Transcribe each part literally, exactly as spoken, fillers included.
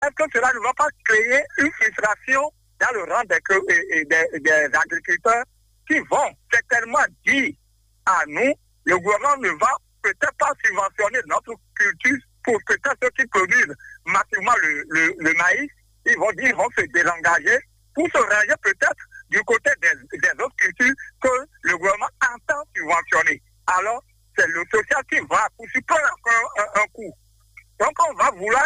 Est-ce que cela ne va pas créer une frustration dans le rang des, des, des agriculteurs qui vont certainement dire à nous, le gouvernement ne va peut-être pas subventionner notre culture pour peut-être ceux qui produisent massivement le, le, le maïs. Ils vont dire, ils vont se désengager pour se ranger peut-être du côté des, des autres cultures que le gouvernement entend subventionner. Alors, c'est le social qui va pour se prendre encore un, un coup. Donc, on va vouloir,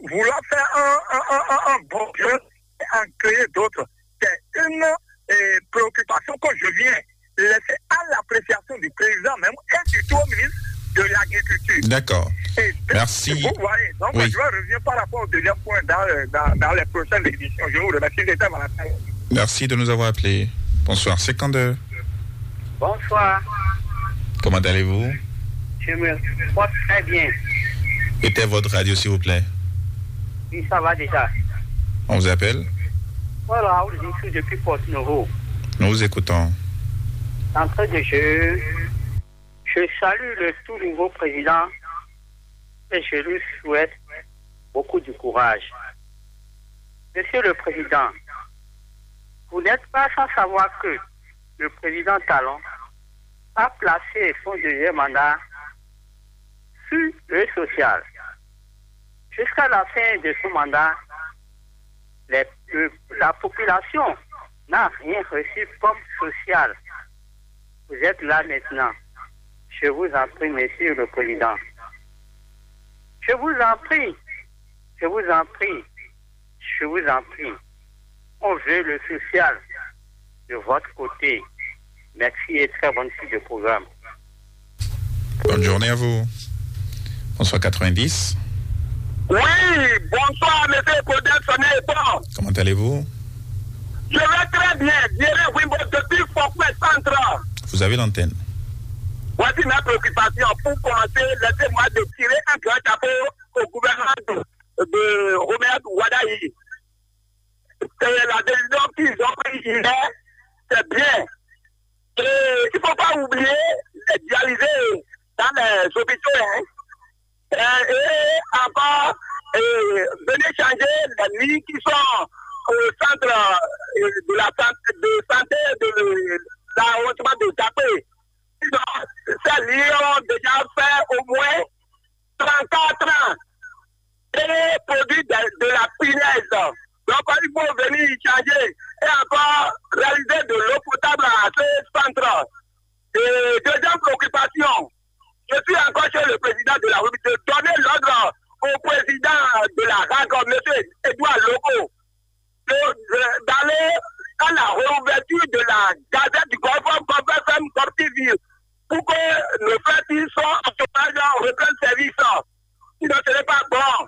vouloir faire un, un, un, un, un bon jeu et en créer d'autres. C'est une euh, préoccupation que je viens laisser à l'appréciation du président même et du tout au ministre de l'Agriculture. D'accord. Et de- Merci. Vous voyez, donc Oui. je vais revenir par rapport au deuxième point dans, euh, dans, dans les prochaines éditions. Je vous remercie d'être à ma Merci de nous avoir appelés. Bonsoir, c'est Kander. Bonsoir. Comment allez-vous? Je me porte très bien. Éteignez votre radio, s'il vous plaît. Oui, ça va déjà. On vous appelle? Voilà, on dit tout depuis Porto Novo. Nous vous écoutons. D'entrée de jeu, je salue le tout nouveau président et je lui souhaite beaucoup de courage. Monsieur le Président, vous n'êtes pas sans savoir que le président Talon a placé son deuxième mandat sur le social. Jusqu'à la fin de son mandat, les- le- la population n'a rien reçu comme social. Vous êtes là maintenant. Je vous en prie, Monsieur le Président. Je vous en prie. Je vous en prie. Je vous en prie. On veut le social de votre côté. Merci et très bonne suite de programme. Bonne journée à vous. Bonsoir quatre-vingt-dix. Oui, bonsoir, monsieur Claudel Sonnet et toi. Comment allez-vous? Je vais très bien. Dieu Wimbo depuis Forfait Centre. Vous avez l'antenne. Voici ma préoccupation. Pour commencer, laissez-moi de tirer un grand chapeau au gouvernement de, de Romuald Wadagni. C'est la décision qu'ils ont prise hier, c'est bien. Et il ne faut pas oublier les dialysés dans les hôpitaux. Hein. Et, et encore, et venez changer les lits qui sont au centre euh, de la santé, de santé de l'arrondissement de Djapé. Ces lits ont déjà fait au moins trente-quatre ans et produit de, de la punaise. Donc, il faut venir y changer et encore réaliser de l'eau potable à ce centre. Et deuxième préoccupation, je suis encore chez le président de la République de donner l'ordre au président de la RAC, monsieur Edouard Loco, de- de- d'aller à la réouverture de la gazette du Golfe comme F M comme T V pour que nos frères qui sont en chômage reprennent service. Sinon, ce n'est pas bon.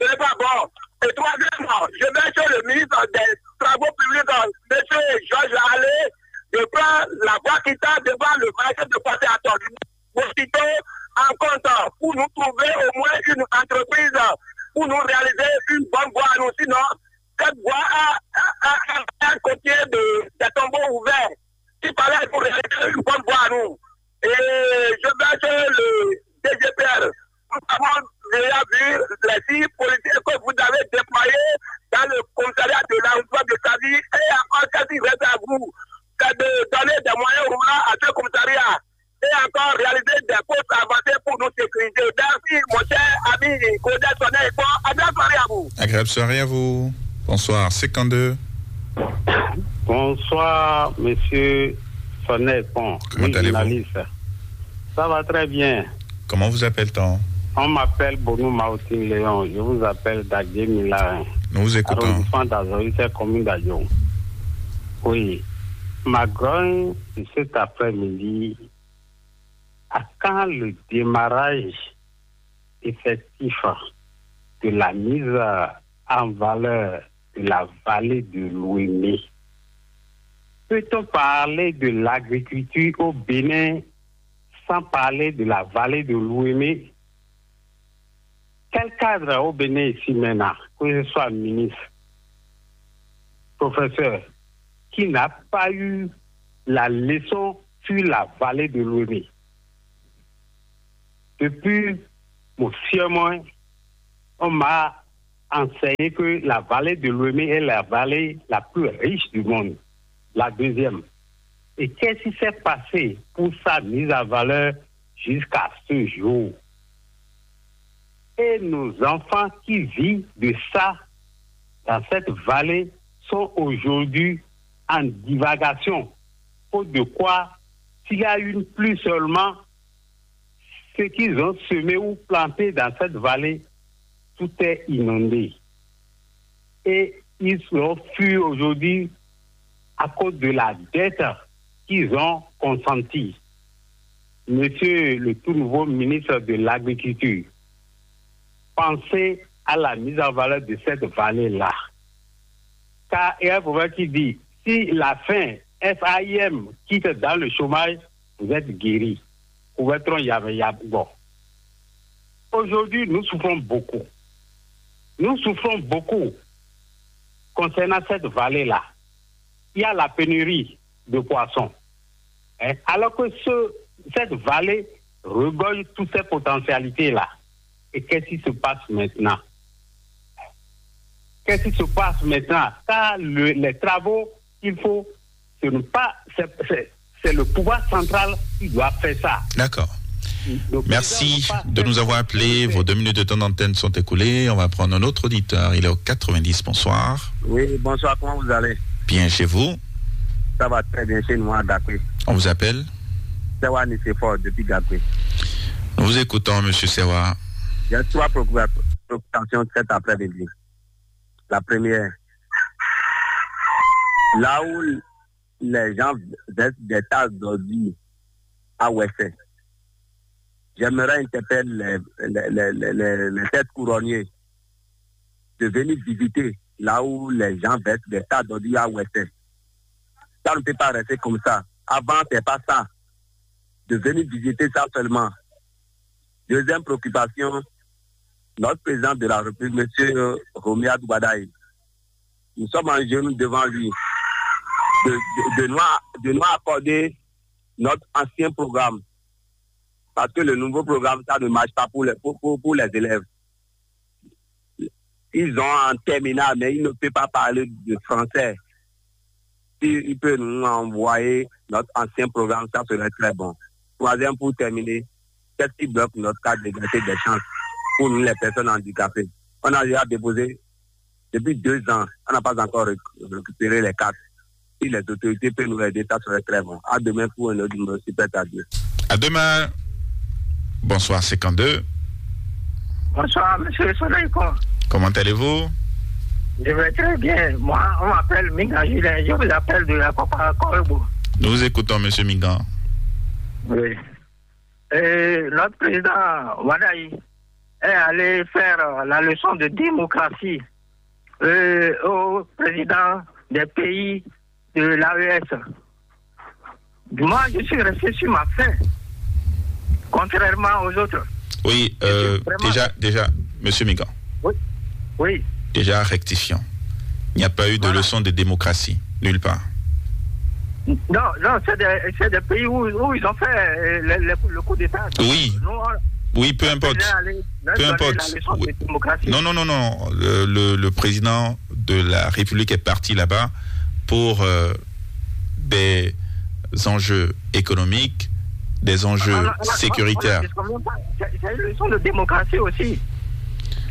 Ce n'est pas bon. Et troisièmement, je vais chez le ministre des Travaux publics, monsieur Georges Allais, de prendre la voie qui tend devant le marché de Passé à Tonne. Aussitôt, en compte pour nous trouver au moins une entreprise pour nous réaliser une bonne voie à nous. Sinon, cette voie a, a, a, a un côté de, des tombeaux ouverts. Il fallait nous réaliser une bonne voie à nous. Et je vais chez le D G P R. Nous avons déjà vu les six policiers que vous avez déployés dans le commissariat de l'arrondissement de Savi et encore qu'est-ce qui reste à vous, c'est de donner des moyens roulants à ce commissariat et encore réaliser des postes avancés pour nous sécuriser. Merci, mon cher ami Claudel Sonnet. Bon, à bientôt, à vous. Agréable soirée à vous. Bonsoir, cinquante-deux. Bonsoir, monsieur Sonnet Pont. Comment Oui, allez-vous journaliste. Ça va très bien. Comment vous appelle-t-on? On m'appelle Bonou Maoutin Léon. Je vous appelle d'Agué Milarin. Nous vous écoutons. Arrondissement d'Azoï, c'est commune d'Adjon. Oui. Ma grogne de cet après-midi, à quand le démarrage effectif de la mise en valeur de la vallée de l'Ouémé? Peut-on parler de l'agriculture au Bénin sans parler de la vallée de l'Ouémé? Quel cadre au Bénin ici maintenant, que ce soit ministre, professeur, qui n'a pas eu la leçon sur la vallée de l'Ouémé? Depuis mon siège, on m'a enseigné que la vallée de Lomé est la vallée la plus riche du monde, la deuxième. Et qu'est-ce qui s'est passé pour sa mise en valeur jusqu'à ce jour? Et nos enfants qui vivent de ça dans cette vallée sont aujourd'hui en divagation. Faute de quoi, s'il y a une pluie seulement, ce qu'ils ont semé ou planté dans cette vallée, tout est inondé. Et ils sont fus aujourd'hui à cause de la dette qu'ils ont consentie. Monsieur le tout nouveau ministre de l'Agriculture, pensez à la mise en valeur de cette vallée-là. Car il y a un proverbe qui dit, si la faim, F A I M, quitte dans le chômage, vous êtes guéri. Aujourd'hui, nous souffrons beaucoup. Nous souffrons beaucoup concernant cette vallée-là. Il y a la pénurie de poissons. Hein. Alors que ce, cette vallée regorge toutes ces potentialités-là. Et qu'est-ce qui se passe maintenant? Qu'est-ce qui se passe maintenant? Car le- les travaux qu'il faut, ce n'est pas, c'est, c'est- c'est le pouvoir central qui doit faire ça. D'accord. Merci de nous avoir appelés. Vos deux minutes de temps d'antenne sont écoulées. On va prendre un autre auditeur. Il est au quatre-vingt-dix. Bonsoir. Oui, bonsoir, comment vous allez? Bien chez vous. Ça va très bien chez nous à Gakoué. On vous appelle. Sewa Nicéphore depuis Gakoué. Nous vous écoutons, monsieur Sewa. Il y a trois préoccupa- préoccupations cet après-midi. La première, là où les gens versent des tas d'ordures à Ouessé, j'aimerais interpeller les, les, les, les, les, les têtes couronnées de venir visiter là où les gens versent des tas d'ordures à Ouessé. Ça ne peut pas rester comme ça. Avant, c'est pas ça. De venir visiter ça seulement. Deuxième préoccupation, notre président de la République, monsieur Romuald Wadagni, nous sommes en genoux devant lui de, de, de nous, de nous accorder notre ancien programme. Parce que le nouveau programme, ça ne marche pas pour les, pour, pour, pour les élèves. Ils ont en terminale, mais ils ne peuvent pas parler de français. S'il peut nous envoyer notre ancien programme, ça serait très bon. Troisième, pour terminer, qu'est-ce qui bloque notre carte d'égalité des chances pour nous, les personnes handicapées? On a déjà déposé depuis deux ans, on n'a pas encore réc- récupéré les cartes. Si les autorités peuvent nous aider, ça serait très bon. À demain pour un autre numéro, si plaît à Dieu. À demain. Bonsoir, cinquante-deux. Bonsoir, monsieur Soleil. Comment allez-vous? Je vais très bien. Moi, on m'appelle Minga Julien. Je vous appelle de la Papa Corbeau. Nous vous écoutons, monsieur Mingan. Oui. Euh, notre président Wadagni est allé faire euh, la leçon de démocratie euh, au président des pays de l'A E S. Moi, je suis resté sur ma faim, contrairement aux autres. Oui, euh, déjà, déjà, monsieur Mingan. Oui. Oui. Déjà, rectifiant. Il n'y a pas eu de leçon de démocratie, nulle part. Non, non, c'est des, c'est des pays où, où ils ont fait euh, le, le- le coup d'État. Oui. Nous, on- Oui, peu on importe. devait aller- Peu donner importe. La leçon Oui. de démocratie. Non, non, non, non. Le, le- le président de la République est parti là-bas pour euh, des enjeux économiques, des enjeux On a- on a- sécuritaires. on a- on a- C'est c'est une leçon de démocratie aussi.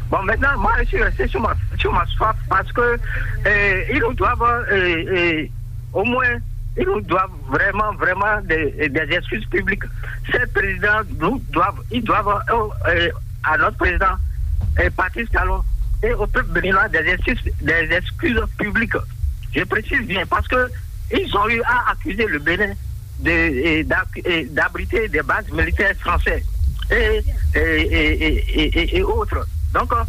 Bon, maintenant, moi, je suis resté sur ma, sur ma soif parce que euh, ils nous doivent euh, euh, au moins, ils nous doivent vraiment, vraiment des, des excuses publiques. Ces présidents nous doivent, ils doivent euh, euh, à notre président euh, Patrice Talon et au peuple béninois des excuses, des excuses publiques. Je précise bien parce que ils ont eu à accuser le Bénin de- et d'ac- et d'abriter des bases militaires françaises et, et, et- et- et- et- et autres. Donc, euh,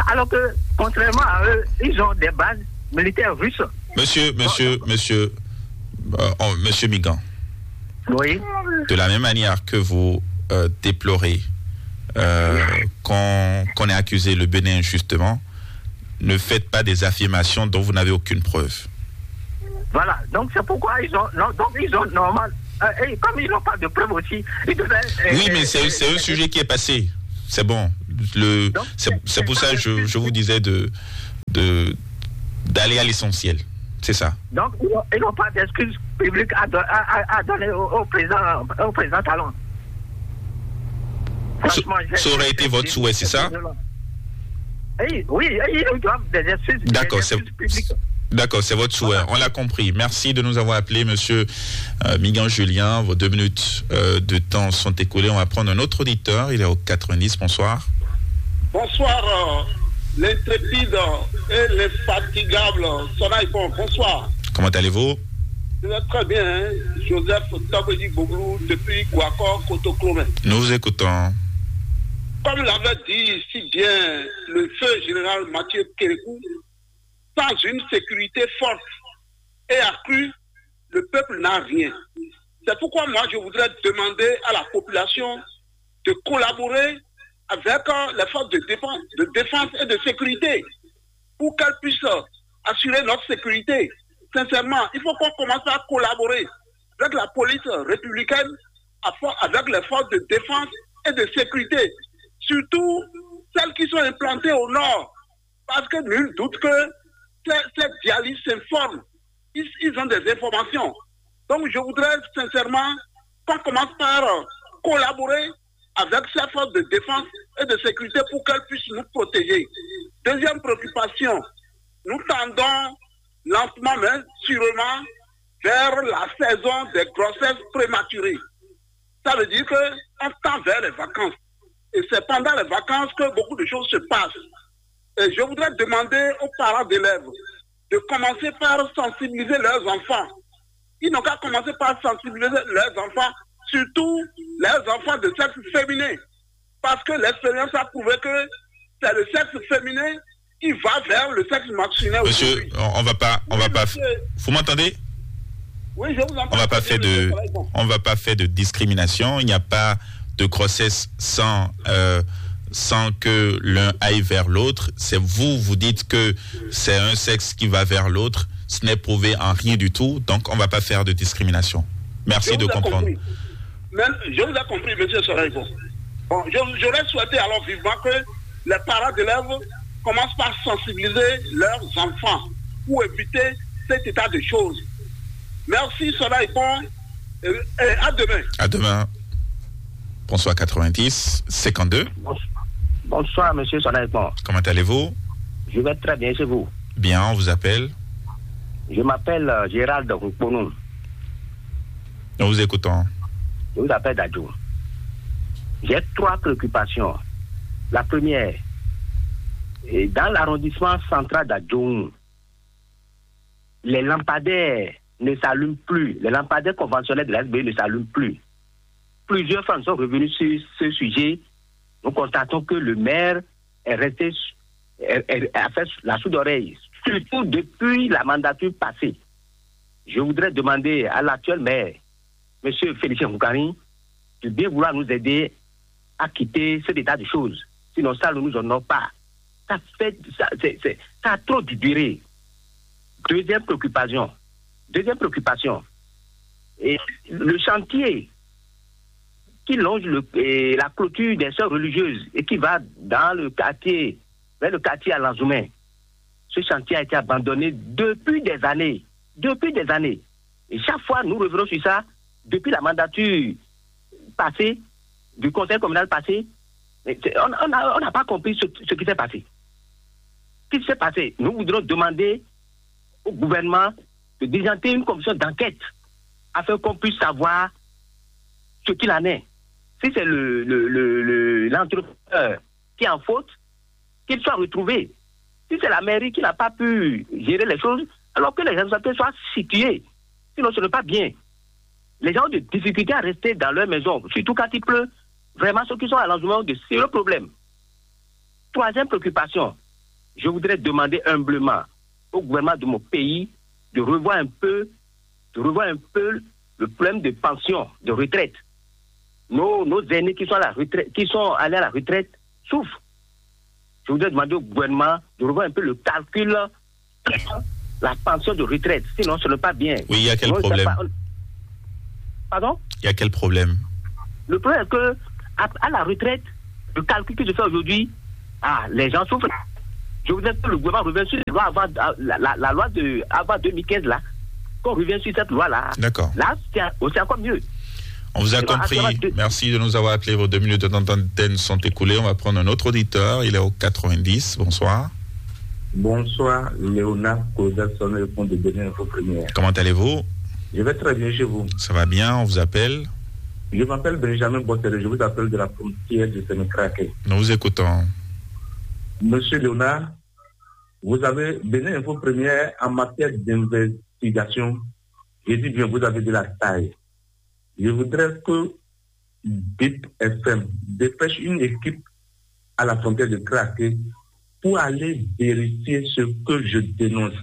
alors que, contrairement à eux, ils ont des bases militaires russes. Monsieur, monsieur, monsieur, euh, oh, monsieur Migan. Oui. De la même manière que vous euh, déplorez euh, qu'on qu'on ait accusé le Bénin injustement, ne faites pas des affirmations dont vous n'avez aucune preuve. Voilà, donc c'est pourquoi ils ont, non, donc ils ont normal. Euh, et comme ils n'ont pas de preuves aussi, ils devaient. Euh, Oui, mais euh, c'est c'est un sujet qui est passé. C'est bon. Le, Donc, c'est c'est c'est pour ça ça que je, l'excuse je vous publique. Disais de, de, d'aller à l'essentiel. C'est ça. Donc, ils n'ont, ils n'ont pas d'excuses publiques à, don- à, à- à donner au, au président, au président Talon. Ça, ça aurait été votre souhait, c'est ça ? Oui, oui, ils doivent des excuses, des excuses publiques. D'accord, c'est votre souhait. Voilà. On l'a compris. Merci de nous avoir appelé, monsieur euh, Migan Julien. Vos deux minutes euh, de temps sont écoulées. On va prendre un autre auditeur. Il est au quatre-vingt-dix. Bonsoir. Bonsoir, euh, l'intrépide et l'infatigable Sonaïpon. Bonsoir. Comment allez-vous ? Je vais très bien, hein. Joseph Tabedi Boglou depuis Guakor, Kotoklomé. Nous vous écoutons. Comme l'avait dit si bien le feu général Mathieu Kérékou, sans une sécurité forte et accrue, le peuple n'a rien. C'est pourquoi moi, je voudrais demander à la population de collaborer avec euh, les forces de défense, de défense et de sécurité pour qu'elles puissent euh, assurer notre sécurité. Sincèrement, il faut qu'on commence à collaborer avec la police républicaine, avec les forces de défense et de sécurité, surtout celles qui sont implantées au nord. Parce que nul doute que ces, ces djihadistes s'informent. Ils, ils ont des informations. Donc, je voudrais sincèrement qu'on commence par euh, collaborer avec ces forces de défense et de sécurité pour qu'elles puissent nous protéger. Deuxième préoccupation, nous tendons lentement mais sûrement vers la saison des grossesses prématurées. Ça veut dire qu'on tend vers les vacances. Et c'est pendant les vacances que beaucoup de choses se passent. Et je voudrais demander aux parents d'élèves de commencer par sensibiliser leurs enfants. Ils n'ont qu'à commencer par sensibiliser leurs enfants, surtout leurs enfants de sexe féminin. Parce que l'expérience a prouvé que c'est le sexe féminin qui va vers le sexe masculin. Monsieur, aujourd'hui. On, on va pas, on va pas. Vous m'entendez ? Oui, je vous entends. On va pas faire de, on va pas faire de discrimination. Il n'y a pas de grossesse sans euh, sans que l'un aille vers l'autre. C'est vous, vous dites que c'est un sexe qui va vers l'autre. Ce n'est prouvé en rien du tout. Donc, on va pas faire de discrimination. Merci de comprendre. Mais je vous ai compris, monsieur Soraïko. Bon, j'aurais souhaité alors vivement que les parents d'élèves commencent par sensibiliser leurs enfants pour éviter cet état de choses. Merci Soraïko et à demain. À demain. Bonsoir quatre-vingt-dix cinquante-deux. Bonsoir, monsieur Soraïko. Comment allez-vous ? Je vais très bien, c'est vous. Bien, on vous appelle. Je m'appelle euh, Gérald Rukponou. Nous vous écoutons. Je vous appelle Dadjou. J'ai trois préoccupations. La première, dans l'arrondissement central d'Adjoun, les lampadaires ne s'allument plus. Les lampadaires conventionnels de la S B ne s'allument plus. Plusieurs fois, nous sommes revenus sur ce sujet. Nous constatons que le maire est resté a fait la sourde oreille, surtout depuis la mandature passée. Je voudrais demander à l'actuel maire, monsieur Félicien Houkari, de bien vouloir nous aider à quitter cet état de choses. Sinon, ça ne nous honore pas. Ça fait, ça, c'est, c'est, ça a trop duré. Deuxième préoccupation. Deuxième préoccupation. Et le chantier qui longe le, la clôture des sœurs religieuses et qui va dans le quartier, vers le quartier à Lanzoumen. Ce chantier a été abandonné depuis des années. Depuis des années. Et chaque fois, nous revenons sur ça, depuis la mandature passée, du conseil communal passé, on n'a on a, on a pas compris ce, ce qui s'est passé. Ce qui s'est passé, nous voudrons demander au gouvernement de diligenter une commission d'enquête afin qu'on puisse savoir ce qu'il en est. Si c'est le, le, le, le, l'entrepreneur qui est en faute, qu'il soit retrouvé. Si c'est la mairie qui n'a pas pu gérer les choses, alors que les responsabilités soient situées. Sinon, ce n'est pas bien. Les gens ont des difficultés à rester dans leur maison, surtout quand il pleut. Vraiment, ceux qui sont à l'environnement ont de sérieux problèmes. Troisième préoccupation, je voudrais demander humblement au gouvernement de mon pays de revoir un peu, de revoir un peu le problème de pension, de retraite. Nos, nos aînés qui sont à la retraite, qui sont allés à la retraite souffrent. Je voudrais demander au gouvernement de revoir un peu le calcul la pension de retraite. Sinon, ce n'est pas bien. Oui, il y a quel problème ? Pardon ? Il y a quel problème ? Le problème est que à, à la retraite, Le calcul que je fais aujourd'hui, ah, les gens souffrent. Je voudrais que le gouvernement revienne sur la loi avant, la, la- la loi de avant deux mille quinze là, qu'on revienne sur cette loi là. D'accord. Là, c'est aussi encore mieux. On vous a Et voilà, compris. ça va de- Merci de nous avoir appelés. Vos deux minutes de temps d'antenne sont écoulées. On va prendre un autre auditeur. Il est au quatre-vingt-dix. Bonsoir. Bonsoir, Léonard Koza, sonne le compte de Bénin Info Première. Comment allez-vous? Je vais très bien chez vous. Ça va bien. On vous appelle. Je m'appelle Benjamin Bossere, je vous appelle de la frontière de Sénécraqué. Nous vous écoutons. Monsieur Léonard, vous avez Bénin Info Première en matière d'investigation. Je dis bien, vous avez de la taille. Je voudrais que Bip F M dépêche une équipe à la frontière de Craqué pour aller vérifier ce que je dénonce.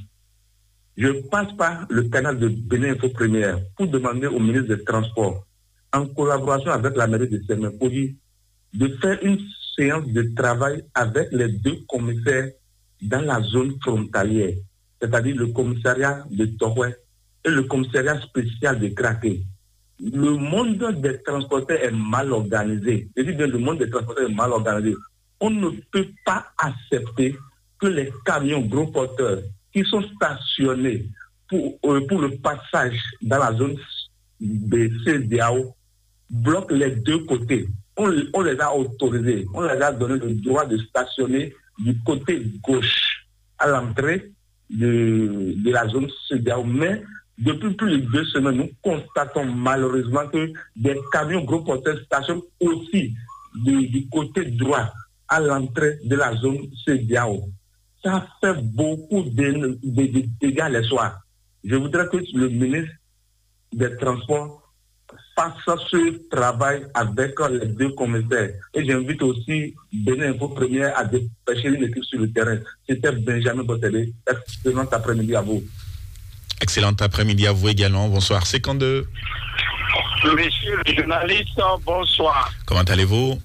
Je passe par le canal de Bénin Info Première pour demander au ministre des Transports, en collaboration avec la mairie de Semenpoli, de faire une séance de travail avec les deux commissaires dans la zone frontalière, c'est-à-dire le commissariat de Tohoué et le commissariat spécial de Craqué. Le monde des transporteurs est mal organisé. Je dis bien, le monde des transporteurs est mal organisé. On ne peut pas accepter que les camions gros porteurs qui sont stationnés pour, euh, pour le passage dans la zone de C D A O bloquent les deux côtés. On, on les a autorisés, on les a donné le droit de stationner du côté gauche à l'entrée de, de la zone C D A O. Mais depuis plus de deux semaines, nous constatons malheureusement que des camions gros porteurs stationnent aussi du, du côté droit à l'entrée de la zone C D A O. Ça fait beaucoup de, de- de dégâts les soirs. Je voudrais que le ministre des Transports fasse ce travail avec les deux commissaires. Et j'invite aussi Bénin Info Première à dépêcher une équipe sur le terrain. C'était Benjamin Botelé. Excellent après-midi à vous. Excellent après-midi à vous également. Bonsoir. Cinquante-deux. Monsieur le journaliste, bonsoir. Comment allez-vous?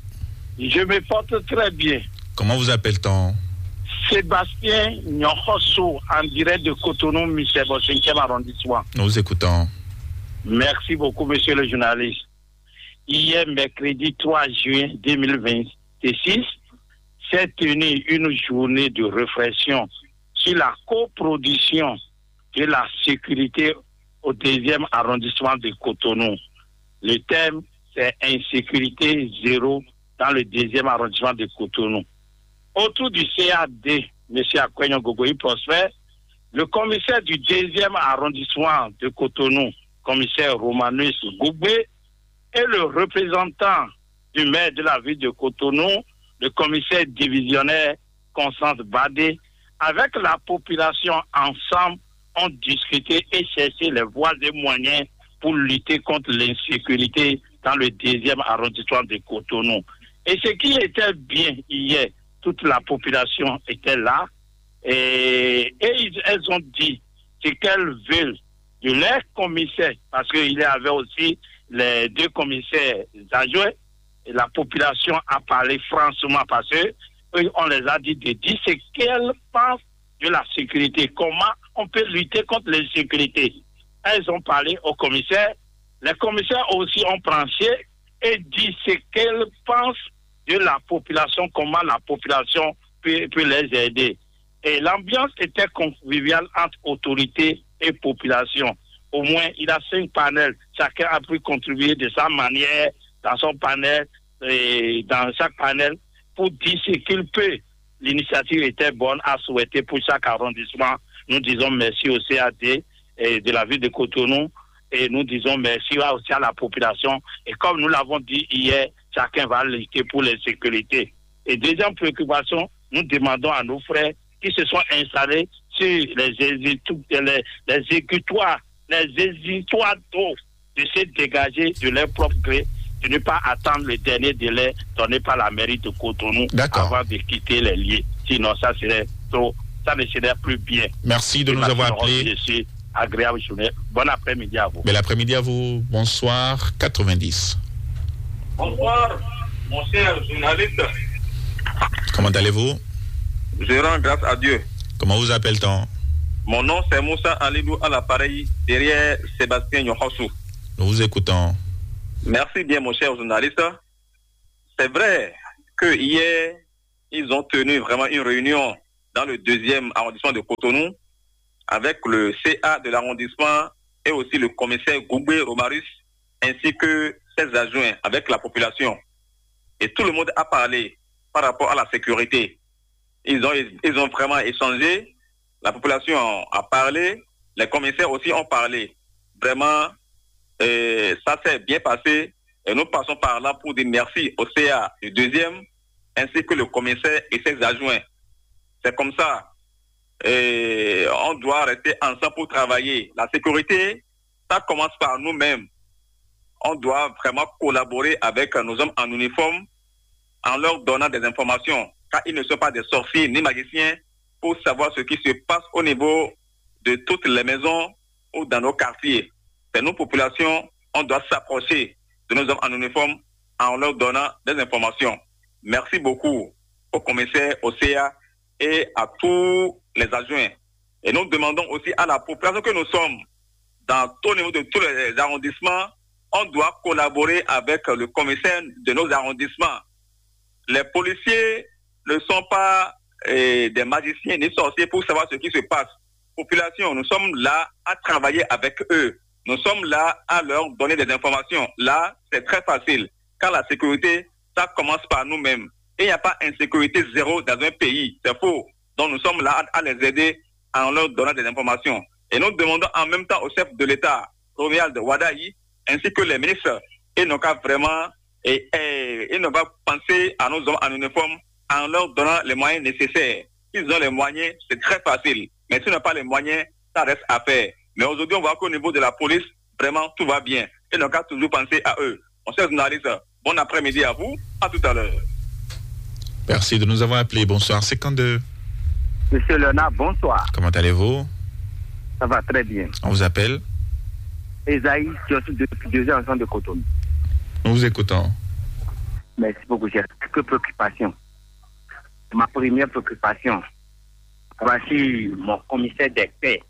Je me porte très bien. Comment vous appelle-t-on? Sébastien Nyonhoso, en direct de Cotonou, Michel, au cinquième arrondissement. Nous vous écoutons. Merci beaucoup, monsieur le journaliste. Hier, mercredi trois juin deux mille vingt-six, s'est tenue une journée de réflexion sur la coproduction de la sécurité au deuxième arrondissement de Cotonou. Le thème, c'est insécurité zéro dans le deuxième arrondissement de Cotonou. Autour du C A D, monsieur Akwényon Gogoyi Prosper, le commissaire du deuxième arrondissement de Cotonou, commissaire Romanus Gogbé, et le représentant du maire de la ville de Cotonou, le commissaire divisionnaire Constance Badé, avec la population ensemble, ont discuté et cherché les voies et moyens pour lutter contre l'insécurité dans le deuxième arrondissement de Cotonou. Et ce qui était bien hier, toute la population était là et, et ils- elles ont dit ce qu'elles veulent de leur commissaire, parce qu'il y avait aussi les deux commissaires adjoints, et la population a parlé franchement parce que eux, on les a dit de dire ce qu'elles pensent de la sécurité, comment on peut lutter contre l'insécurité. Elles ont parlé au commissaire. Les commissaires aussi ont tranché et dit ce qu'elles pensent de la population, comment la population peut, peut les aider. Et l'ambiance était conviviale entre autorités et population. Au moins, il a cinq panels. Chacun a pu contribuer de sa manière dans son panel et dans chaque panel pour dire ce qu'il peut. L'initiative était bonne à souhaiter pour chaque arrondissement. Nous disons merci au C A D et de la ville de Cotonou et nous disons merci aussi à la population. Et comme nous l'avons dit hier, chacun va lutter pour l'insécurité. Et deuxième préoccupation, nous demandons à nos frères qui se sont installés sur les, les, les, les égouttoirs, les égouttoirs d'eau de se dégager de leur propre gré, de ne pas attendre le dernier délai donné par la mairie de Cotonou avant de quitter les lieux. Sinon, ça serait trop, ça ne serait plus bien. Merci de nous avoir appelés. Agréable journée. Bon après-midi à vous. Bel après-midi à vous. Bonsoir, quatre-vingt-dix. Bonsoir, mon cher journaliste. Comment allez-vous? Je rends grâce à Dieu. Comment vous appelle-t-on? Mon nom, c'est Moussa Alidou à l'appareil derrière Sébastien Nyonhoso. Nous vous écoutons. Merci bien, mon cher journaliste. C'est vrai, que hier, ils ont tenu vraiment une réunion dans le deuxième arrondissement de Cotonou avec le C A de l'arrondissement et aussi le commissaire Goubé Romarus, ainsi que ses adjoints avec la population. Et tout le monde a parlé par rapport à la sécurité. Ils ont, ils ont vraiment échangé. La population a parlé. Les commissaires aussi ont parlé. Vraiment, euh, ça s'est bien passé. Et nous passons par là pour dire merci au C A du deuxième, ainsi que le commissaire et ses adjoints. C'est comme ça. Et on doit rester ensemble pour travailler. La sécurité, ça commence par nous-mêmes. On doit vraiment collaborer avec nos hommes en uniforme en leur donnant des informations, car ils ne sont pas des sorciers ni magiciens pour savoir ce qui se passe au niveau de toutes les maisons ou dans nos quartiers. C'est nous, population, on doit s'approcher de nos hommes en uniforme en leur donnant des informations. Merci beaucoup au commissaire, au C A et à tous les adjoints. Et nous demandons aussi à la population que nous sommes, dans tout niveau de tous les arrondissements, on doit collaborer avec le commissaire de nos arrondissements. Les policiers ne sont pas euh, des magiciens ni sorciers pour savoir ce qui se passe. Population, nous sommes là à travailler avec eux. Nous sommes là à leur donner des informations. Là, c'est très facile. Car la sécurité, ça commence par nous-mêmes. Il n'y a pas insécurité zéro dans un pays. C'est faux. Donc nous sommes là à, à les aider en leur donnant des informations. Et nous demandons en même temps au chef de l'État, Romuald Wadagni, ainsi que les ministres, ils n'ont qu'à vraiment et, et, et on va penser à nos hommes en uniforme en leur donnant les moyens nécessaires. S'ils ont les moyens, c'est très facile. Mais s'ils n'ont pas les moyens, ça reste à faire. Mais aujourd'hui, on voit qu'au niveau de la police, vraiment, tout va bien. Et donc, on a toujours pensé à eux. On sait journaliste, bon après-midi à vous. À tout à l'heure. Merci de nous avoir appelés. Bonsoir, cinquante-deux. Monsieur Léonard, bonsoir. Comment allez-vous? Ça va très bien. On vous appelle? Esaïe, je suis depuis deux ans ensemble de Cotonou. Nous vous écoutons. Merci beaucoup. J'ai quelques préoccupations. Ma première préoccupation, voici mon commissaire des paix.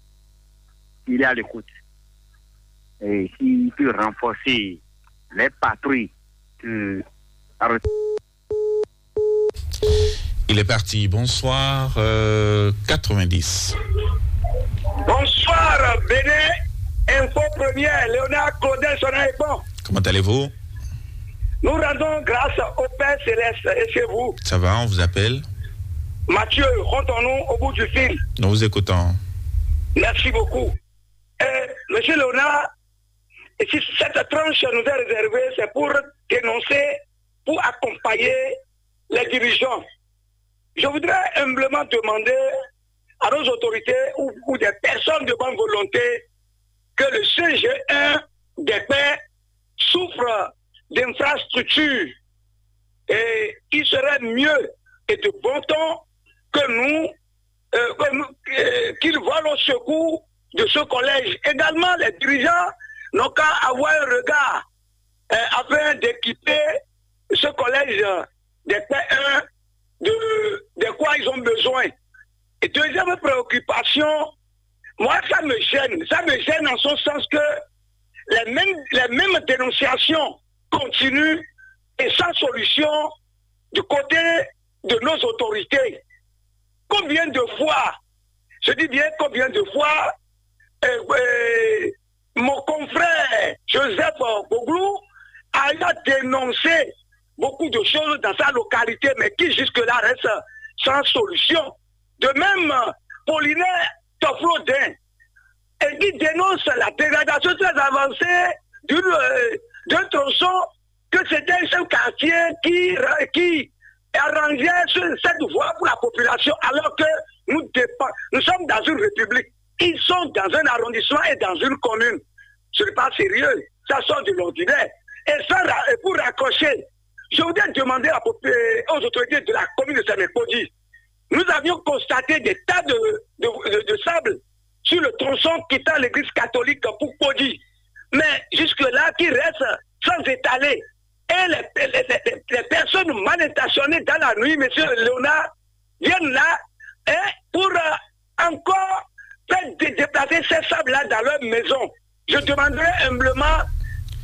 Il est à l'écoute. Et s'il peut renforcer les patrouilles, euh, Il est parti. Bonsoir, euh, quatre-vingt-dix. Bonsoir, Bénin. Info Première, Léonard Claudel Sonaïbon. Comment allez-vous? Nous rendons grâce au Père Céleste et chez vous. Ça va, on vous appelle. Mathieu, rentrons-nous au bout du fil. Nous vous écoutons. Merci beaucoup. Euh, Monsieur Léonard, et si cette tranche nous est réservée, c'est pour dénoncer, pour accompagner les dirigeants. Je voudrais humblement demander à nos autorités ou, ou des personnes de bonne volonté que le C G un des pères souffre d'infrastructures et il serait mieux et de bon ton que nous, euh, que nous, euh, qu'ils volent au secours de ce collège. Également, les dirigeants n'ont qu'à avoir un regard euh, afin d'équiper ce collège des P un de, de quoi ils ont besoin. Et deuxième préoccupation, moi, ça me gêne. Ça me gêne en ce sens que les mêmes, les mêmes dénonciations continuent et sans solution du côté de nos autorités. Combien de fois, je dis bien combien de fois, euh, euh, mon confrère Joseph Boglou a déjà dénoncé beaucoup de choses dans sa localité, mais qui jusque-là reste sans solution. De même, Paulina Toflodin, et qui dénonce la dégradation très avancée d'une, euh, d'un tronçon que c'était un quartier qui, qui arrangeait ce- cette voie pour la population, alors que nous, dépend- nous sommes dans une république. Ils sont dans un arrondissement et dans une commune. Ce n'est pas sérieux. Ça sort de l'ordinaire. Et, ça, ra- et pour raccrocher, je voudrais demander à, aux autorités de la commune de Saint-Mercredi. Nous avions constaté des tas de, de- de- de sable sur le tronçon quittant l'église catholique pour Podi. Mais jusque-là, qui reste sans étaler. Et les, les- les- les personnes mal intentionnées dans la nuit, monsieur Léonard, viennent là, hein, pour euh, encore faire dé- déplacer ces sables-là dans leur maison. Je demanderai humblement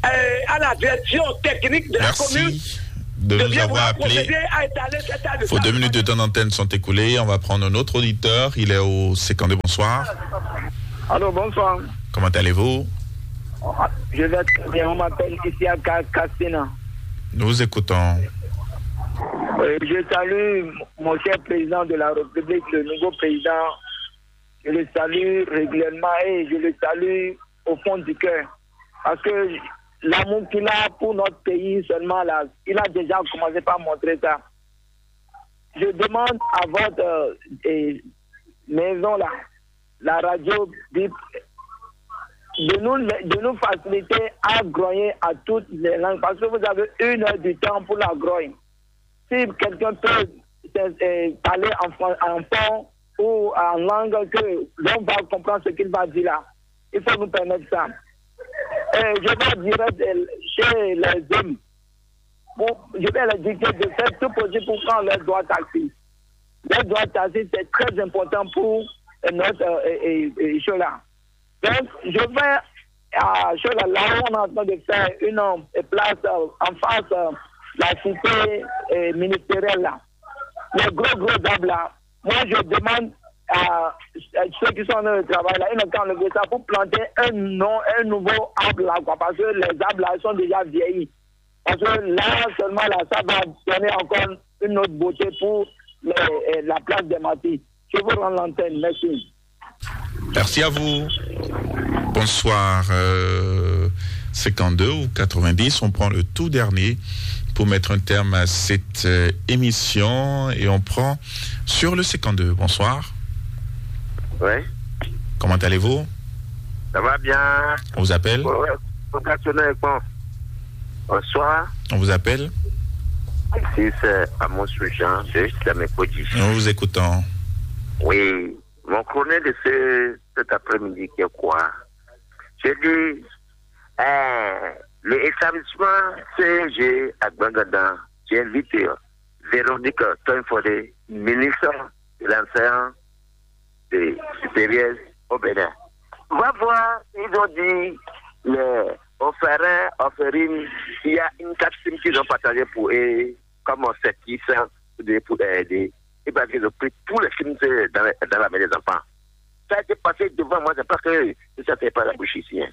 euh, à la direction technique de la commune Merci. de nous avoir appelés. Vos deux minutes de temps d'antenne sont écoulées. On va prendre un autre auditeur. Il est au cinquante-deux. Bonsoir. Allô, bonsoir. Comment allez-vous ? Je vais très bien. On m'appelle ici à Ka-, Castina. Nous vous écoutons. Euh, je salue mon cher président de la République, le nouveau président. Je le salue régulièrement et je le salue au fond du cœur. Parce que l'amour qu'il a pour notre pays seulement, là, il a déjà commencé par montrer ça. Je demande à votre, euh, eh, maison là, la radio Bip, de nous, de nous faciliter à grogner à toutes les langues, parce que vous avez une heure du temps pour la grogne. Si quelqu'un peut, euh, parler en, fran- en fond ou en langue que l'on va comprendre ce qu'il va dire là, il faut nous permettre ça. Et je vais direct, euh, chez les hommes. Bon, je vais leur dire de faire tout possible pour prendre leur droit taxi. Leur droit taxi, c'est très important pour, euh, notre, euh, euh, euh, chose là. Donc, je vais, à, sur la, là où on est en train de faire une, euh, place, euh, en face, euh, la cité, euh, ministérielle là. Les gros, gros arbres là. Moi, je demande à, à ceux qui sont en train de travailler là, ils n'ont qu'à enlever ça pour planter un, non, un nouveau arbre là, quoi, parce que les arbres là sont déjà vieillis. Parce que là, seulement là, ça va donner encore une autre beauté pour les, euh, la place des martyrs. Je vous rends l'antenne. Merci. Merci à vous. Bonsoir. Euh, cinquante-deux ou quatre-vingt-dix, on prend le tout dernier pour mettre un terme à cette, euh, émission et on prend sur le cinquante-deux. Bonsoir. Oui. Comment allez-vous ? Ça va bien. On vous appelle ? Ouais, ouais. Bonsoir. On vous appelle ? Ici, c'est Amos Jean, de Samekoji. Nous vous écoutons. Oui, mon chronique de ce, cet après-midi, qui est quoi ? J'ai dit, euh, l'établissement C G à Gbangadan, j'ai invité Véronique Toinfodé, ministre de l'enseignement de supérieur au Bénin. Va voir, ils ont dit, les orphelins, orphelines, il y a une taxe qu'ils ont partagée pour eux, comme on sait qui sont pour aider. Et parce qu'ils ont pris tous les films dans, dans la main des enfants. Ça a été passé devant moi, c'est parce que ça fait pas la bouche ici, hein.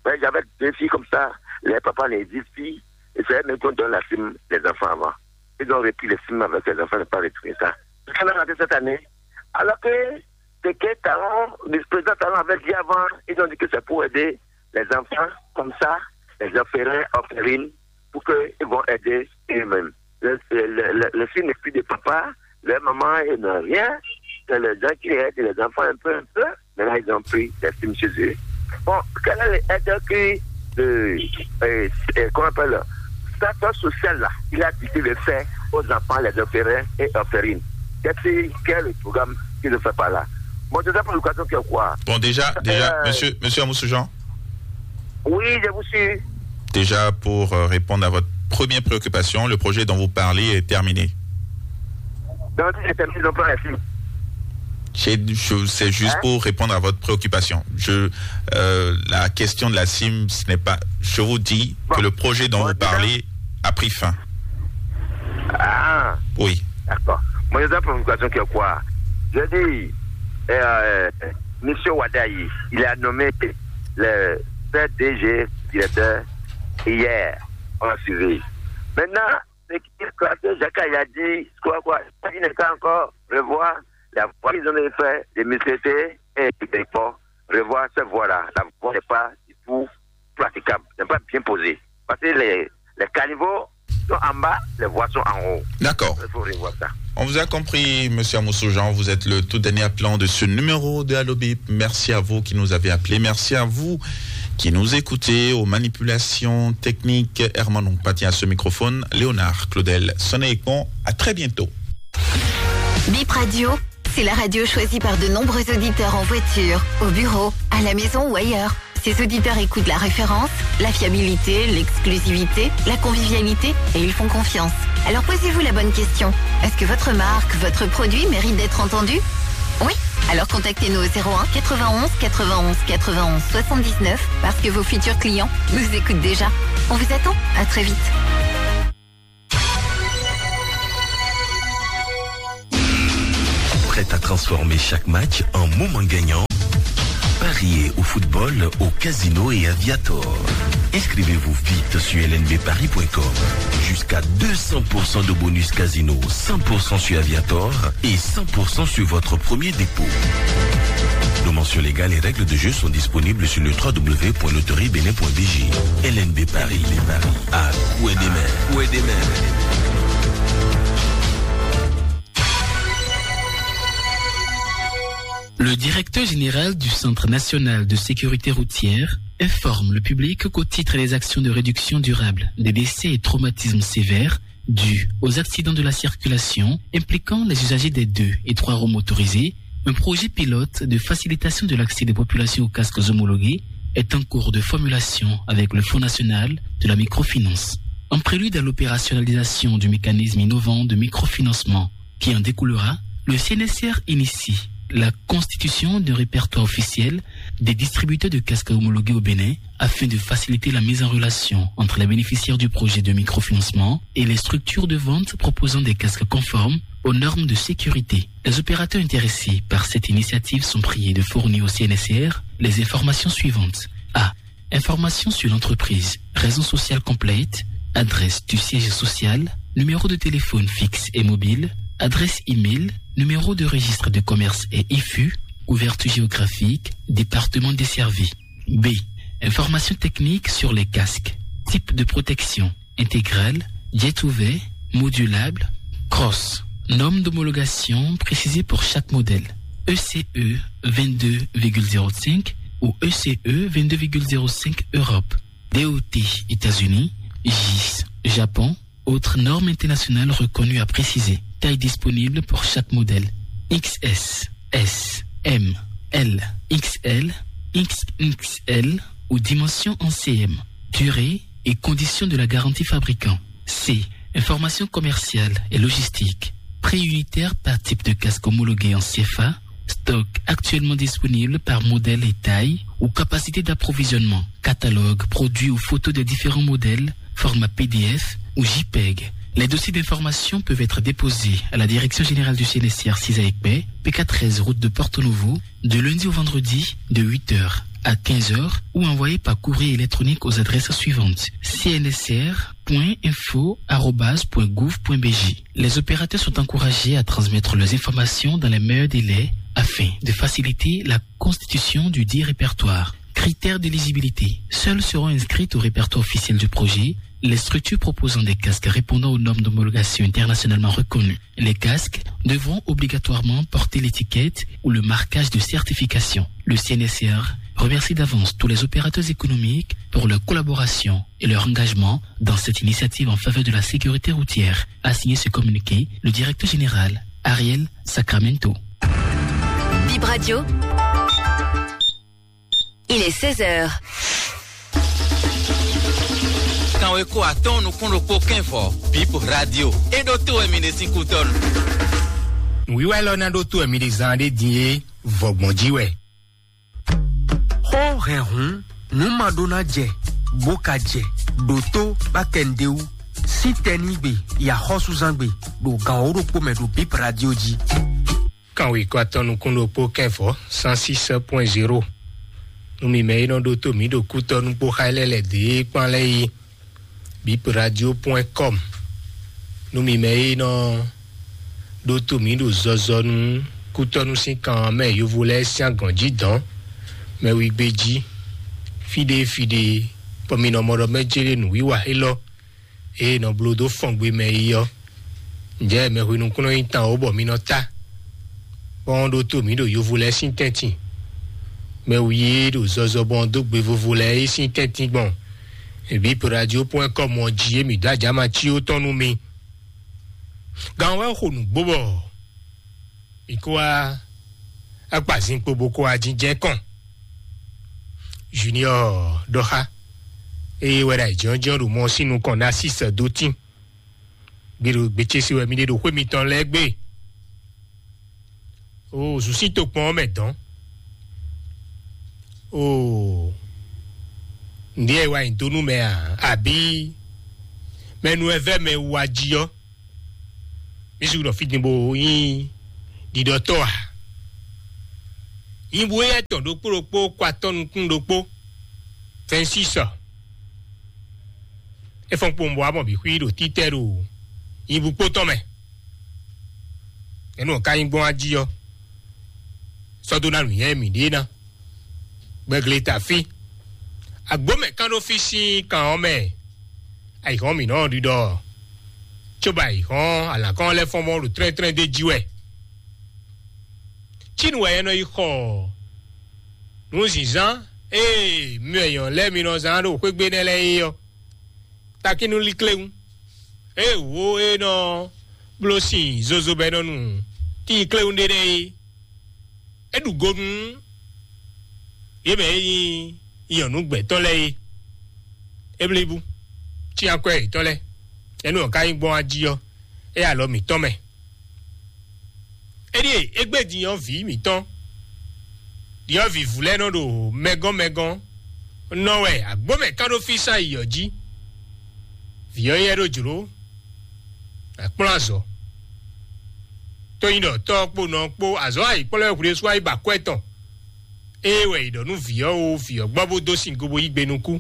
Ouais, j'avais deux filles comme ça, les papas les dix filles, et c'est elles-mêmes qui ont donné la cime des enfants avant. Ils ont repris les cimes avec les enfants, ils n'ont pas retrouvé ça. Ça a raté cette année. Alors que c'est que Talon, le président Talon avait dit avant, ils ont dit que c'est pour aider les enfants comme ça, les orphelins, orphelines, pour qu'ils vont aider eux-mêmes. Le, le, le, le, le film n'est plus de papa, leur maman, ils n'ont rien. C'est les gens qui aident les enfants un peu, un peu. Maintenant, ils ont pris des films chez eux. Bon, quelle est l'aide que, euh, euh, euh, comment on appelle, statut social là, il a décidé de faire aux enfants, les orphelins et orphelines ? Qu'est-ce, quel est le programme qu'il fait par là ? Bon, déjà pour l'éducation, que quoi ? Bon, déjà, déjà, euh, monsieur, monsieur Amoussoujean. Oui, je vous suis. Déjà, pour, euh, répondre à votre première préoccupation, le projet dont vous parlez est terminé. Donc, si c'est terminé, ils n'ont pas la cime. C'est, je- c'est juste Hein ? Pour répondre à votre préoccupation. Je, euh, la question de la cime, ce n'est pas. Je vous dis Bon. Que le projet dont Bon, vous déjà parlez a pris fin. Ah, Oui. D'accord. Mon exemple pour l'éducation, que quoi ? Je dis, euh, monsieur Wadayi, il a nommé le P D G directeur hier. On a suivi. Maintenant, c'est qui, quoi, que Jacques a dit, quoi, quoi, il n'est pas encore revoir la voie qu'ils ont fait de Miss T T et de Port, revoir cette voie-là. La voie n'est pas du tout praticable, n'est pas bien posée. Parce que les, les caniveaux sont en bas, les voies sont en haut. D'accord. Il faut revoir ça. On vous a compris, monsieur Amoussoujean. Vous êtes le tout dernier appelant de ce numéro de Allo Bip. Merci à vous qui nous avez appelés. Merci à vous qui nous écoutez. Aux manipulations techniques, Herman Ompati, à ce microphone, Léonard Claudel. Sonnez et con. À très bientôt. Bip Radio, c'est la radio choisie par de nombreux auditeurs en voiture, au bureau, à la maison ou ailleurs. Ces auditeurs écoutent la référence, la fiabilité, l'exclusivité, la convivialité et ils font confiance. Alors posez-vous la bonne question. Est-ce que votre marque, votre produit mérite d'être entendu ? Oui ? Alors contactez-nous au zéro un quatre-vingt-onze quatre-vingt-onze quatre-vingt-onze soixante-dix-neuf parce que vos futurs clients nous écoutent déjà. On vous attend. À très vite. Prêt à transformer chaque match en moment gagnant ? Pariez au football, au casino et à Viator. Inscrivez-vous vite sur L N B paris point com. Jusqu'à deux cents pour cent de bonus casino, cent pour cent sur Aviator et cent pour cent sur votre premier dépôt. Nos mentions légales et règles de jeu sont disponibles sur le trois W point loterie bénin point B J. L N B Paris, les paris à coup et des mains. Coup et des mains. Le directeur général du Centre national de sécurité routière informe le public qu'au titre des actions de réduction durable des décès et traumatismes sévères dus aux accidents de la circulation impliquant les usagers des deux et trois roues motorisées, un projet pilote de facilitation de l'accès des populations aux casques homologués est en cours de formulation avec le Fonds national de la microfinance. En prélude à l'opérationnalisation du mécanisme innovant de microfinancement qui en découlera, le C N S R initie la constitution d'un répertoire officiel des distributeurs de casques homologués au Bénin afin de faciliter la mise en relation entre les bénéficiaires du projet de microfinancement et les structures de vente proposant des casques conformes aux normes de sécurité. Les opérateurs intéressés par cette initiative sont priés de fournir au C N S R les informations suivantes. A. Informations sur l'entreprise, raison sociale complète, adresse du siège social, numéro de téléphone fixe et mobile, adresse email, numéro de registre de commerce et I F U, couverture géographique, département desservi. B. Informations techniques sur les casques, type de protection, intégrale, jet ouvert, modulable, cross. Norme d'homologation précisée pour chaque modèle. E C E vingt-deux virgule zéro cinq ou E C E vingt-deux virgule zéro cinq Europe. D O T États-Unis, G I S Japon, autres normes internationales reconnues à préciser. Taille disponible pour chaque modèle. X S, S, M, L, X L, X X L ou dimension en C M. Durée et conditions de la garantie fabricant. C. Information commerciale et logistique. Prix unitaire par type de casque homologué en C F A. Stock actuellement disponible par modèle et taille ou capacité d'approvisionnement. Catalogue, produits ou photos des différents modèles, format P D F ou J peg. Les dossiers d'information peuvent être déposés à la Direction générale du C N S R six à Ekpé, P K treize route de Porto Novo, de lundi au vendredi, de huit heures à quinze heures, ou envoyés par courrier électronique aux adresses suivantes : C N S R point info arobase point gouv point B J. Les opérateurs sont encouragés à transmettre leurs informations dans les meilleurs délais afin de faciliter la constitution du dit répertoire. Critères d'éligibilité. Seules seront inscrites au répertoire officiel du projet les structures proposant des casques répondant aux normes d'homologation internationalement reconnues. Les casques devront obligatoirement porter l'étiquette ou le marquage de certification. Le C N S R remercie d'avance tous les opérateurs économiques pour leur collaboration et leur engagement dans cette initiative en faveur de la sécurité routière, a signé ce communiqué le directeur général, Ariel Sacramento. Bip Radio. Il est seize heures. Kanweko atɔn nukún ɖokpó kɛnfɔ, Bip Radio. E ɖo to wɛ mi ɖe sín kútɔnu. Nǔwiwa élɔ́ ná ɖó tó wɛ mi ɖe zan ɖé din é, vɔgbɔn jí wɛ. Xó hɛn hǔn, nǔ ma ɖó ná jɛ, bó ka jɛ, ɖǒ tó bá kɛ nǔɖé wú. Sín tɛnígbe, yi axɔ́súzángbe, ɖo gan wǒ ɖokpó mɛ ɖo Bip Radio jí. Kanwekɔ atɔn nukún ɖokpó kɛnfɔ, cent six point zéro. Nú mi mɛ e nɔ ɖótó mǐ ɖo kútɔ́ nú kpó xá lɛ́ lɛ̌ dě kpán lɛ́ɛ é, bip radio point com. Nú mi mɛ e nɔ ɖótó mǐ ɖo zɔzɔ nú kútɔ́nú sín kan mɛ yovo lɛ́ɛ sín agɔ̌n jí dɔ̌n, mɛ wigbe jí, fíɖée fíɖée, bɔ mi nɔ mɔ ɖɔ mɛ jélé nǔwiwa élɔ́ e nɔ bló dó fɔngbe mɛ é ɔ́. Ǹjẹ́ mɛhwenu kún nɔ nyí tan ó bɔ mi nɔ tá, bɔ ɔ́n ɖótó mǐ ɖo yovo lɛ́ɛ sín tɛ́ntin? Mɛ wi e ɖo zɔzɔ bɔ ɔ́n dó gbe vovo lɛ́ɛ é sín tɛ́ntin gbɔn bip radio point com ɔ́ jí é mǐ dó ajǎma cí ó tɔn nú mi. Gan wɛ xo nǔgbó bɔ mi kó wá akpazinkpo bó kó wá jínjɛ́n kɔn. Junior ɖɔ xá eye wɛ ɖo ayǐjínjɔ́n ɖo mɔ sín nukɔn ná sísɛ dó tín. Gbe ɖo gbe ce se wɛ mi ɖe ɖo xwé mitɔn lɛ́ɛ gbe. O zǔ sín tokpɔn ɔ́ mɛ dɔn. O ǹdí ɛ wa nyi dó nú mɛ a? Àbí mɛnu ɛ vɛ mɛ wa jí ɔ́? Mí sixú nɔ fí din bó nyí Ɖiɖɔtɔ́ a? Nyibú éyɛ́ tɔn ɖokpó ɖokpó kɔ atɔ́ nukún ɖokpó, vɛ̌nsísɔ. É fɔ́n kpowun bɔ wá mɔ bǐ xwí ɖo títɛ́ ɖo nyibú kpó tɔn mɛ. Ɛnú ɔ́ ka nyí gbɔn ají ɔ́, sɔ́ dó ná nǔnywɛ́ mǐɖée ná. Gbɛgle ta fí. Agbǒmɛ kán ɖó fí sín kan ɔ́ mɛ. Ayǐhɔ́n mǐ nɔ ɖiɖɔ, cóbɔ ayǐhɔ́n alǎkɔ́n lɛ́ɛ fɔ́n mɔ ɖo tlɛ́ntlɛ́n d'é jí wɛ. Cínu wɛ é nɔ yi xɔ nǔzǐnzán e myɔ nyɔ̌nu lɛ́ɛ mi nɔ zán ɖo xwégbé nɛ́ lɛ́ɛ é ɔ́. Takínnú líkléwún, ée wǒ é nɔ bló sin zozo bɔ é nɔ nu tíi kléwún ɖé nɛ́ é. É ɖu go nú yě mɛ e nyí nyɔ̌nu gbɛ̌tɔ́ lɛ́ɛ é. É blíbú, cyán kwɛ́ yětɔn lɛ́ɛ, ɛnú ɔ́ ka nyí gbɔn ají ɔ́, é alɔ mǐtɔn mɛ. Éɖíe égbé din ɔ́ vǐ mǐtɔn, ɖyɔ̌vǐvú lɛ́ɛ nɔ ɖo mɛgɔ́n mɛgɔ́n nɔ wɛ agbǒmɛ kán ɖó fí sán yi ɔ́ jí. Vǐ ɔ́ nyɛ ɖó jlǒ, akplɔ́n azɔ̌. Tó nyí ɖɔ tɔ́ ɔ́ kpó nɔ ɔ́ kpó azɔ̌ ayǐkplɔ́n e hwlésú wá yi ba akwɛ́ tɔn. Ée wɛ è ɖɔ nú vǐ ɔ́ o, vǐ ɔ́ gbɔ bó dó sin go bó yí gbe nukún.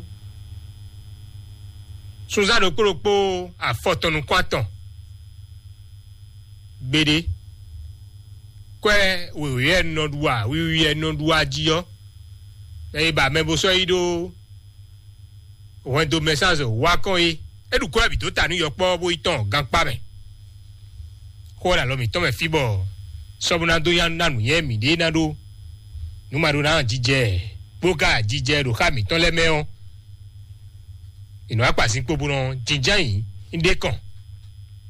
Sunzán ɖokpó ɖokpó afɔ tɔn nukún atɔn. Gbeɖé, kwɛ́ wěwé wɛ un nɔ ɖu a, wiwi wɛ un nɔ ɖu a jí ɔ́, mɛ e ba mɛ bo sɔ́ yi ɖó hwɛndo mɛ sán zɔ wá kɔn é. É ɖu kwɛ́ bǐ dó ta nú yɔkpɔ́ bó yi tɔn gankpá mɛ. Xó ɔ́ ɖo alɔ mǐtɔn mɛ fí bɔ sɔ́ bó ná dó nya ná nǔnywɛ́ mǐɖée ná ɖó nǔ ma ɖó ná jijɛ bó ka jijɛ ɖo xá mǐtɔn lɛ́ɛ mɛ ɔ́, è nɔ wá kpa zinkpo bó nɔ jínján yǐ ɖé kɔn.